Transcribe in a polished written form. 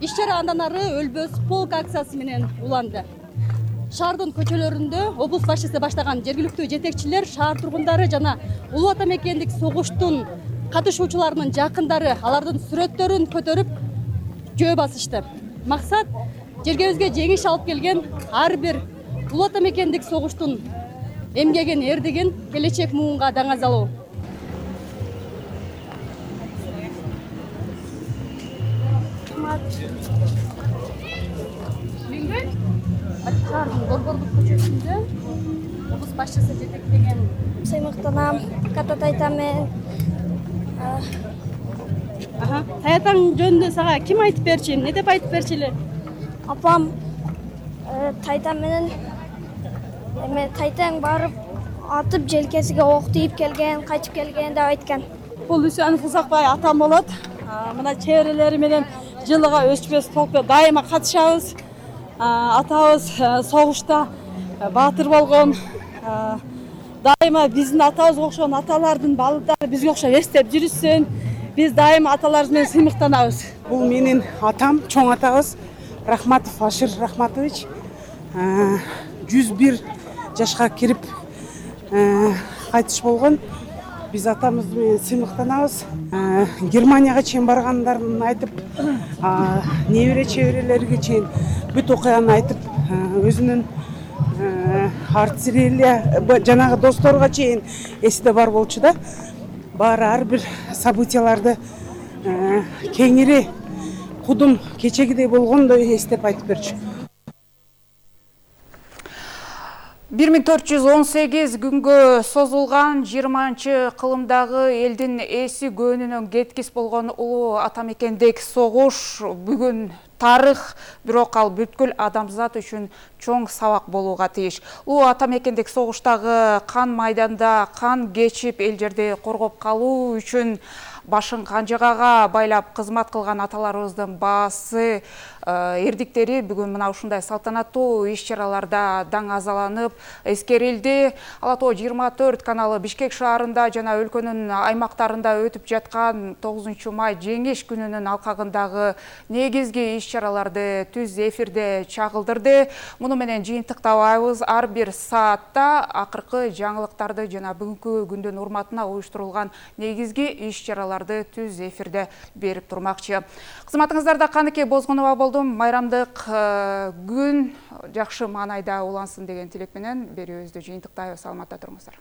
Иш-чара андан ары өлбөс полк акциясы менен уланды. Шаардын көчөлөрүндө облус башчысы баштаган жергиликтүү жетекчилер, шаар тургундары жана улуу ата мекендик согуштун катышуучуларынын жакындары алардын сүрөттөрүн көтөрүп жөө басышты. Максат жергебизге жеңиш алып келген ар бир улуу ата мекендик согуштун эмгегин эрдигин келечек муунга даңазалоо. Шаардын Борборлук көчөсүндө облус башчысы жетектеген Сыймыктанам, кататайтам мен. Таятаң жөнүндө сага ким айтып берчи? Не деп айтып берчи эле? Апам тайтам менен тайтаң барып атып желкесиге ок тийип келген, кайтып келген деп айткан. Бул Үсөнов Узакбай атам болот. Мына чеберелери менен жылыга өчпөс полкто дайыма катышабыз. Атабыз согушта баатыр болгон. Дайыма биздин атабызга окшогон аталардын балдары бизге окшоп эстеп жүрүшсүн. Биз дайыма аталарыбыз менен сыймыктанабыз. Бул менин атам, чоң атабыз Рахматов Ашир Рахматович 101 жашка кирип кайтыш болгон. Биз атамыз менен сыймыктанабыз. Германияга чейин баргандарын айтып, небере чеберелерге чейин бүт окуяны айтып, өзүнүн артиллерия жанагы досторго чейин эсиде бар болчу да. Баары ар бир событияларды кеңири кудум кечегидей болгондой эстеп айтып берчү. 1418 күнгө созулган 20-кылымдагы элдин эси көөнүнөн кеткис болгон улуу ата мекендик согуш бүгүн тарых, бирок ал бүткүл адамзат үчүн чоң сабак болууга тийиш. Улуу ата мекендик согуштагы кан майданда кан кечип эл жерди коргоп калуу үчүн башын канжагага байлап кызмат кылган аталарыбыздын баасы эрдиктери бүгүн мына ушундай салтанаттуу иш-чараларда даңазаланып эскерилди. Ала Тоо 24 каналы Бишкек шаарында жана өлкөнүн аймактарында өтүп жаткан 9 май жеңиш күнүнүн алкагындагы негизги иш-чараларды түз эфирде чагылдырды. Муну менен жыйынтыктабайбыз. Ар бир саатта акыркы жаңылыктарды жана бүгүнкү күндүн урматына уюштурулган негизги иш-чараларды түз эфирде берип турмакчы. Кызматыңыздарда Каныке Бозгунова болдум. Майрамдык күн жакшы маанайда улансын деген тилек менен берүүбүздү жыйынтыктайбыз. Саламатта туруңуздар.